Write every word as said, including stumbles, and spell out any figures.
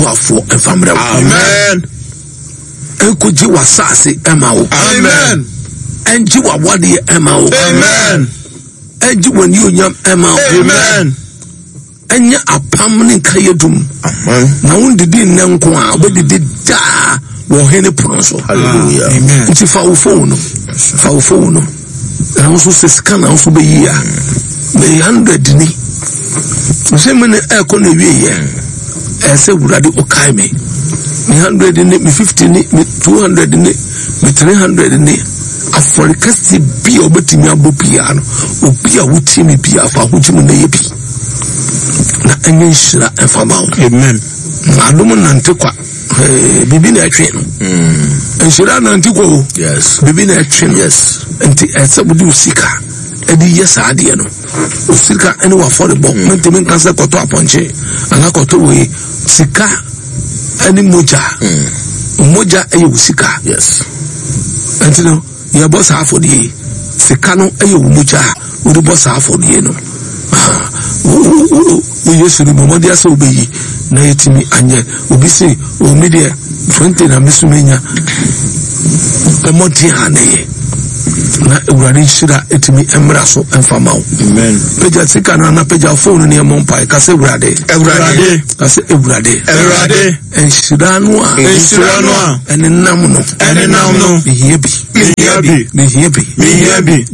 boafoɔ ɛmfa mmerɛ wo. Amen. Ɛnkɔgye w'asase ɛma wo. Amen. Ɛngye w'awadeɛ ɛma wo. Amen. Ɛngye w'anionyam ɛma wo. Amen. Ɛnyɛ apam ne nkayɛ dum. Amen. Na wondidi nnɛ nko a, wobɛdidi daa wɔ ɔhene pono so. Hallelujah. Amen. Nti fa wo phone no, fa wo phone no, na wo nso sɛ sika na wo nso bɛyi a, mɛyɛ hundred ni sɛ me ne ɛkɔ na ewie yɛ, ɛyɛ sɛ Wurade ɔkae me me hundred ni, me fifty ni, me two hundred ni, me three hundred ni. Afɔre kɛse bi a wobɛtumi abɔ biara no, obi a wotie me biara, fa ahogye mu na yɛ bi na ɛnyɛ nhyira ɛmfa ma wo. Amen. Adom nante kwa. Ee, biribi na ɛtwe no. Nhyira nante kwa o. Yes. Biribi na ɛtwe no. Yes. Nti ɛsɛ wode wo sika ɛde yɛ saa adeɛ no, wo sika ɛne w'afɔrebɔ. Mentumi nka sɛ kɔtɔ apɔnkye anaa kɔtɔ wei. Sika ɛne mogya, mogya ɛyɛ wo sika. Yes. Nti no yɛbɔ saa afɔdeɛ yi, sika no ɛyɛ wo mogya a wode bɔ saa afɔdeɛ no. Ah, wo- wo- wo- wo Yesu no, bɔmmɔden asɛ wobɛyi na yɛtumi anyɛ. Obi se omi deɛ twenty na me so menya, bɔmmɔden a na yɛ na Awurade nhyira ɛtumi mmra so ɛmfa ma wo. Amen. Pagya sika no ana pagya phone no ne ɛmmɔ mpae ka sɛ, Awurade. Awurade. Ka sɛ, Awurade. Awurade. Nhyira no a Nhyira no a ɛne nam no ɛne nam no mehia bi. Mehia bi. Mehia bi. Mehia bi.